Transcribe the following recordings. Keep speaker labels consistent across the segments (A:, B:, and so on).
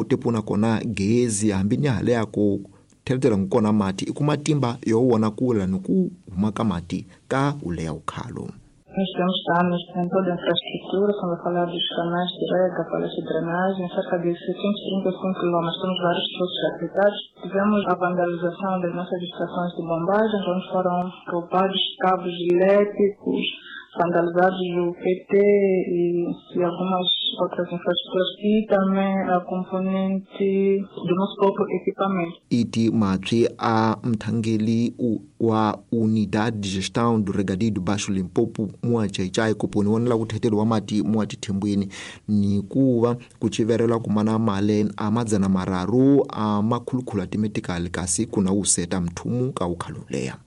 A: Tepuna kona gezi hambi ni hale ya ku theletela kona mati i kuma timba yo wona kula ni ku huma ka mati ka uleya ukhalo.
B: Nós tivemos danos em toda a infraestrutura, estamos a falar dos canais de rega, falhas de drenagem, cerca de 735 km, temos vários poços afetados. Tivemos a vandalização das nossas estações de bombagem, onde foram roubados cabos elétricos, vandalizados o PT e algumas outras infraestruturas e também a componente do nosso próprio equipamento.
A: Iti matwi a mthangeli wa Unidade de Gestão do Regadio do Baixo Limpopo muachaicai kuponi wonela kuthetelo wa mati muatithembweni ni kuva kuchiverelwa kumana male a madzana mararu a makhulukhulu atimetikali kasi kuna useta mthumu ka ukhaluleya.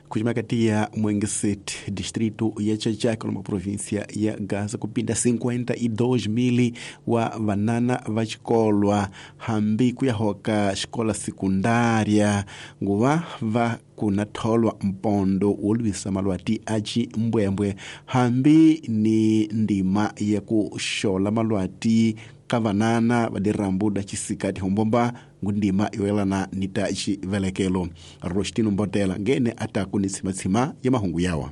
C: Kujimakatiya Mwengesete, distrito ya Chachaca, numa província ya Gaza, kupinda 52 mil wa vanana va xikolwa hambi ku ya hoka xikola sekundária nguva va kuna tholwa mpondo wo lwisa malwati a ximbwembwe hambi ni ndima ya ku xola malwati ka vanana va dirambu da xisikati hombomba ngundima yoyelana ni ta xivelekelo. Rostino Mbotela ngene ataku ni tsimatsima ya mahungu yawa.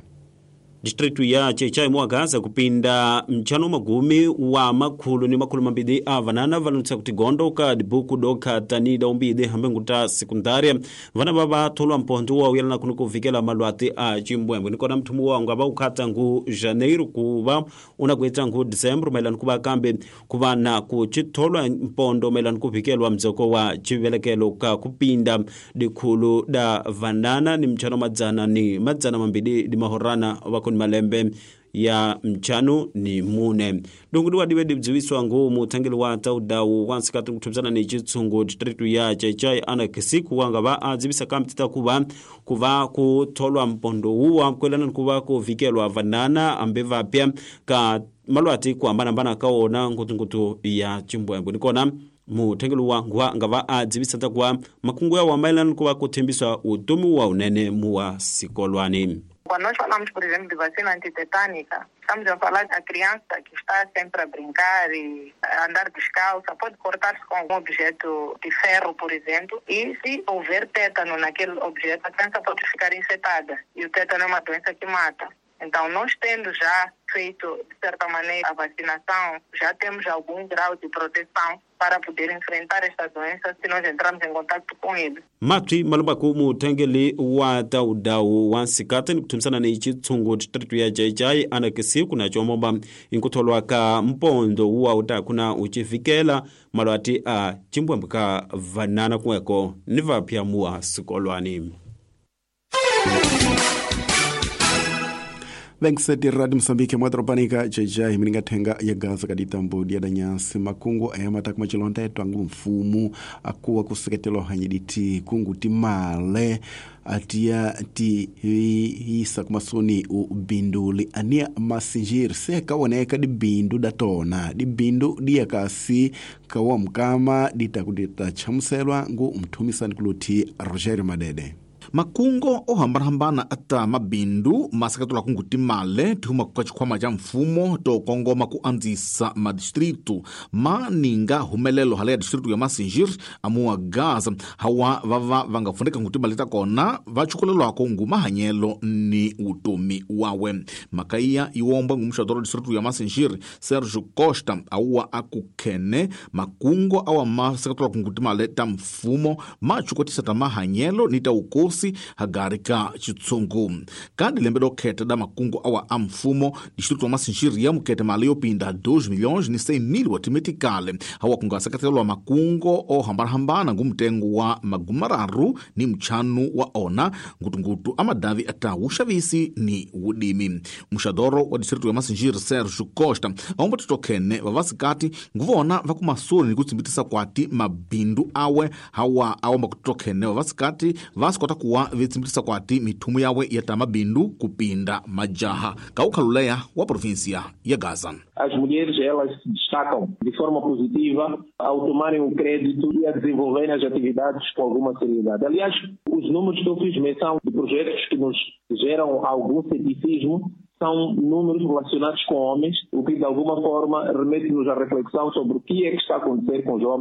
D: Distritu ya Chechai mwa Gaza kupinda mchano magumi wa makhulu ni makhulu mambili a vanana valunsa kuti gondo ka dibuku doka tanida umbide hambe nguta sekundaria vana baba tholwa mpondo wa uyelana kuno kuvikela malwati a chimbwembwe nikona mthumu wangu aba ukhata ngu janeiro kuva unakuita ngu december maelana kuva kambe kuva na kuchitholwa mpondo maelana kuvikelwa mdzoko wa chivelekelo ka kupinda dikhulu da vanana ni mchano madzana ni madzana mambili di mahorana wako ni malembe ya mchano ni mune dungu diwe dibdziwiswa ngu muthangeli wa taudawu wansikati kuthubzana ni chitsungu distritu ya Chechai ana kisiku wanga va adzivisa kamtita kuva kutholwa mpondo uwa kwelana nikuva kuvikelwa vanana ambe vapya ka malwati kuhambanahambana kaona ngutungutu ya chimbwembwe nikona muthengeli wa nguwa nga va adzivisa takuva makungu yawa maelana nikuva kuthembiswa utomi wa unene muwa sikolwani.
E: Quando nós falamos, por exemplo, de vacina antitetânica, estamos a falar da criança que está sempre a brincar e a andar descalça, pode cortar-se com algum objeto de ferro, por exemplo, e se houver tétano naquele objeto, a criança pode ficar infectada. E o tétano é uma doença que mata. Então, nós tendo já feito, de certa maneira, a vacinação, já temos algum grau de proteção para poder enfrentar esta doença se nós entrarmos em contato com ele.
D: Matwi malubaku muthengeli wa taudawu wa nsikati ni kuthumisana ni chitsungu distritu ya Chechai ana kisiku na chomomba inkutholwa ka mpondo uwa utakuna uchivikela malwati a chimbwembwe ka vanana kuweko ni vapya muwa sikolwani.
C: Venkseti Radio Mozambique mwadropanika Chechai mininga thenga ya Gaza kaditambo dia da nyansi makungu ayamata kumachilonda etu angu mfumu akuwa kuseketelo hanyiditi kungu timale atia ti isa kumasoni ubinduli ania masinjir se kawoneka dibindu datona dibindu diyakasi kawa mkama ditakudita chamuselwa ngu mthumisani kuluthi Rogerio Madede.
F: Makungo ohambanahambana ata mabindu masakatula kungu timale tihuma kuka chikhwama cha mfumo to kongoma ku andzisa madistritu maninga humelelo hala ya distritu ya Masinjir amuwa Gaza hawa vava vanga fundeka ngu timale takona vachukulelwako ngu mahanyelo ni utomi wawe. Makaiya iwombwe ngu muxadoro distritu ya Masinjir Sergio Costa auwa akukhene makungo awa masakatula kungu timale ta mfumo machukotisa ta mahanyelo ni ta ukosi hagari ka chitsungu. Kandi lembe dokhetha da makungu awa a mfumo distrito wa Masinjiri ya mukhetha mali yopinda 2 milhões ni 100 mil wa timetikale hawa kungasakatelwa makungo ohambanahambana ngu mtengo wa magumararu ni mchanu wa ona ngutungutu amadavi ata uxavisi ni wudimi. Muxadoro wa distrito ya Masinjiri Sergio Costa aomba titokhene vavasikati nguvona vakumasoni ni kutsimbitisa kwati mabindu awe hawa aomba kutitokhene vavasikati vasikota kuwa vitsimbitisa kwati mithumu yawe ya tamabindu kupinda majaha kaukhaluleya wa província ya Gaza.
G: As mulheres, elas se destacam de forma positiva ao tomarem o crédito e a desenvolverem as atividades com alguma seriedade. Aliás, os números que eu fiz menção de projetos que nos geram algum ceticismo são números relacionados com homens, o que de alguma forma remete-nos à reflexão sobre o que é que está a acontecer com os homens